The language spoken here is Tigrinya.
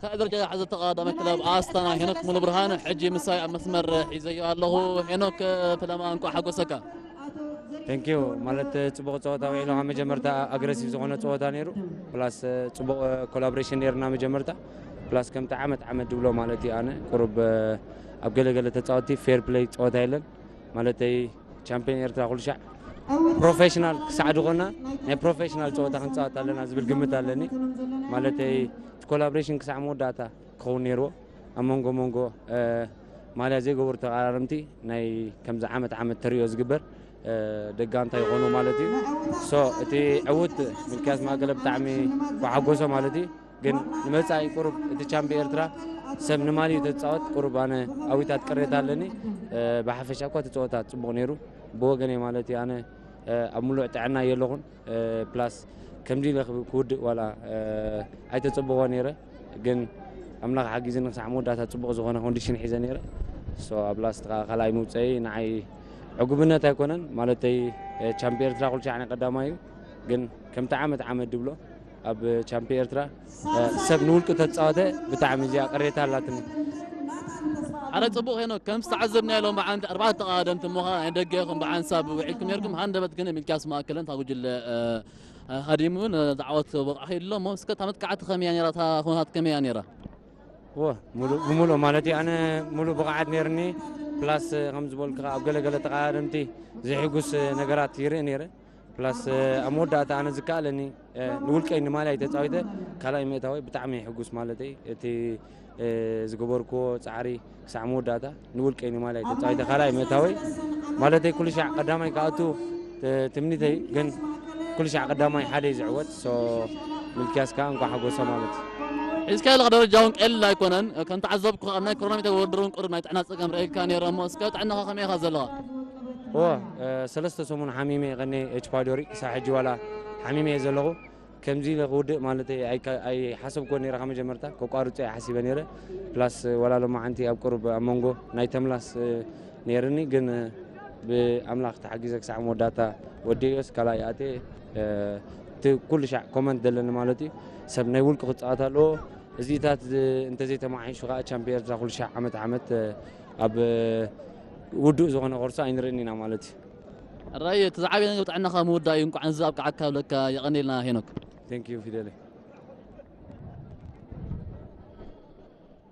ካልኣይ ደረጃ ዝሓዘ ተቐዳዳማይ ክለብ ኣስታና ሄኖክ ሙሉ ብርሃን ሕጂ ምሳይ ኣብ መስመር ሒዘዮ ኣለኹ። ሄኖክ፣ ፈለማ እንኳዕ ሓጎሰካ። ቴንኪዩ። ማለት ጽቡቕ ጸወታ ውዒሉ፣ ካብ መጀመርታ ኣግረሲቭ ዝኾነ ጸወታ ነይሩ። ፕላስ ጽቡቕ ኮላቦሬሽን ነይርና መጀመርታ። ፕላስ ከምቲ ዓመት ዓመት ድብሎ ማለት እዩ፣ ኣነ ቁሩብ ኣብ ገለገለ ተጻወቲ ፌር ፕሌይ ጸወታ የለን። ማለተይ ቻምፒዮን ኤርትራ ኩሉ ሻዕ ፕሮፌሽናል ክሳዕ ዝኾና ናይ ፕሮፌሽናል ጸወታ ክንጻወት ኣለና ዝብል ግምት ኣለኒ። ማለተይ እቲ ኮላቦሬሽን ክሳዕ መወዳእታ ክኸውን ነይርዎ። ኣብ መንጎ መንጎ ማልያ ዘይገበሩ ተቓራረምቲ ናይ ከምዚ ዓመት ዓመት ተርእዮ ዝግበር ደጋንታ ይኾኑ ማለት እዩ። ሶ እቲ ዕውት ምልክያስ ማእከለ ብጣዕሚ ብሓጎሶ ማለት እዩ። ግን ንመጻኢ ቁሩብ እቲ ቻምፒ ኤርትራ ሰብ ንማልዩ ተጻወት ቁሩብ ኣነ ኣዊታት ቅሬታ ኣለኒ። ብሓፈሻ እኳ እቲ ጸወታ ጽቡቕ ነይሩ ብወገነይ ማለት እዩ። ኣነ ኣብ ምሉእ ጥዕና የለኹን። ፕላስ ከምዚ ኢለ ክውድእ ዋላ ኣይተጸበዎ ነይረ፣ ግን ኣምላኽ ሓጊዝኒ ክሳዕ መወዳእታ ጽቡቕ ዝኾነ ኮንዲሽን ሒዘ ነይረ። ሶ ኣብ ላስት ከዓ ካልኣይ ምውፀይ ንዓይ ዕጉብነት ኣይኮነን። ማለተይ ቻምፒ ኤርትራ ኩሉ ሻዕ ናይ ቀዳማይ እዩ፣ ግን ከምቲ ዓመት ዓመት ድብሎ ኣብ ቻምፒ ኤርትራ ሰብ ንውልቂ ተፃወተ ብጣዕሚ እዚኣ ቅሬታ ኣላትኒ። ሓደ ጽቡቕ ሄኖክ፣ ከም ዝተዓዘብናዮ ሎም ብዓንቲ ኣርባዕተ ተቐዳደምቲ እሞ ኸኣ ናይ ደገ ኢኹም ብሓንሳብ ውዒልኩም ነርኩም። ሃንደበት ግን ሚልክያስ ማእከለ እታ ጉጅለ ሃዲሙ ነዚ ዓወት በቕዓ ኢሉ ኣሎ እሞ እስከ እታ መጥቃዕቲ ከመይ እያ ነይራ? እታ ኩነታት ከመይ እያ ነይራ? ወ ብሙሉእ ማለት እዩ ኣነ ሙሉእ ብቕዓት ነይርኒ። ፕላስ ከም ዝበልኩ ኣብ ገለገለ ተቐዳደምቲ ዘይሕጉስ ነገራት ይርኢ ነይረ። ፕላስ ኣብ መወዳእታ ኣነ ዝከኣለኒ ንውልቀይ ንማልያይ ተፃዊተ ካልኣይ ምእታወይ ብጣዕሚ ሕጉስ ማለተይ እቲ ዝገበርክዎ ፃዕሪ ክሳዕ መወዳእታ ንውልቀይ ንማልያይ ተፃዊተ ካልኣይ ምእታወይ ማለተይ ኩሉ ሻዕ ቀዳማይ ክኣቱ ትምኒተይ ግን ኩሉ ሻዕ ቀዳማይ ሓደ እዩ ዝዕወት። ሶ ምልክያስ ከዓ እንኳ ሓጎሰ ማለት እዩ። ሒዝካዮ ዘለኻ ደረጃ እውን ቀሊል ኣይኮነን። ከም ተዓዘብኩ ኣብ ናይ ክሮኖሜተር ውድድር እውን ቁሩብ ናይ ጥዕና ፀገም ረኢልካ ነይረ እሞ እስከ ጥዕናኻ ከመይ ኢኻ ዘለኻ? እወ ሰለስተ ሰሙን ሓሚመ እየ ቀኒ ኤች ፓይሎሪ ክሳብ ሕጂ ዋላ ሓሚመ እየ ዘለኹ። ከምዚ ኢለ ክውድእ ማለት ኣይሓሰብኮ ነይረ ካብ መጀመርታ ከቋርጾ እየ ሓሲበ ነይረ። ፕላስ ዋላ ሎማዓንቲ ኣብ ቁሩብ ኣብ መንጎ ናይ ተምላስ ነይርኒ ግን ብኣምላኽ ተሓጊዘ ክሳዕ መወዳእታ ወዲዮስ ካልኣይ ኣትየ እቲ ኩሉ ሻዕ ኮመንት ዘለኒ ማለት እዩ ሰብ ናይ ውልቂ ክፃወት ኣለዎ። እዚታት እንተዘይተማሓይሹ ከዓ ቻምፒ ኤርትራ ኩሉ ሻዕ ዓመት ዓመት ኣብ ውዱእ ዝኾነ ኮርሶ ኣይንርእን ኢና ማለት እዩ። ራይ እቲ ዝዓበየ ነገር ጥዕናኻ ምውዳእ እዩ። እንኳዕ እዚ ኣብቅዓካ ብለካ የቐንየልና ሄኖክ። ቴንክ ዩ ፊደለይ።